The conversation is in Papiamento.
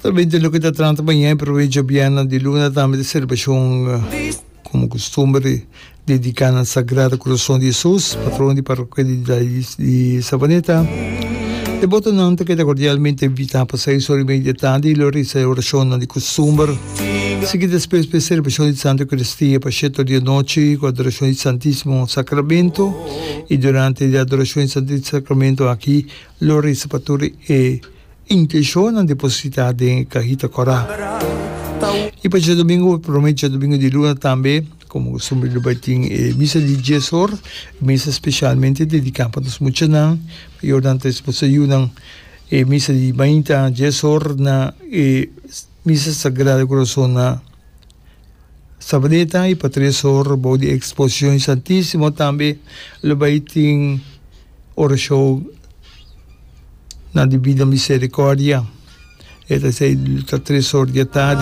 Naturalmente loke ta trata mañana e prome djobièrnè di luna tambe ta selebrashon komo kustumber dediká na Sagrado Kurason di Hesus, patrono di parokia di Savaneta. Debotonan ta keda kordialmente invitá pa seis ora i media di tardi lo resa e orashonnan di kustumber. Sigui despues pa e selebrashon di Santa Eukaristia pa shete or di anochi ku adorashon di Santisimo Sakramento i durante di adorashon di Santisimo Sakramento aki lo resa pa tur e Intenshonnan depositá den e kahita kòrá. I pa djadumingu, promé djadumingu di luna tambe, komo kustumber lo bai tin e misa di dies or, misa speshalmente dediká pa nos muchanan, pa yornan ta esposa yunan. E misa di mainta dies or na e Misa Sagrado Kurason na Sabaneta i pa tres or bou di Eksposishon di Santísimo tambe lo bai tin orashon na Divina Misericordia. E ta esei ta tres or di atardi.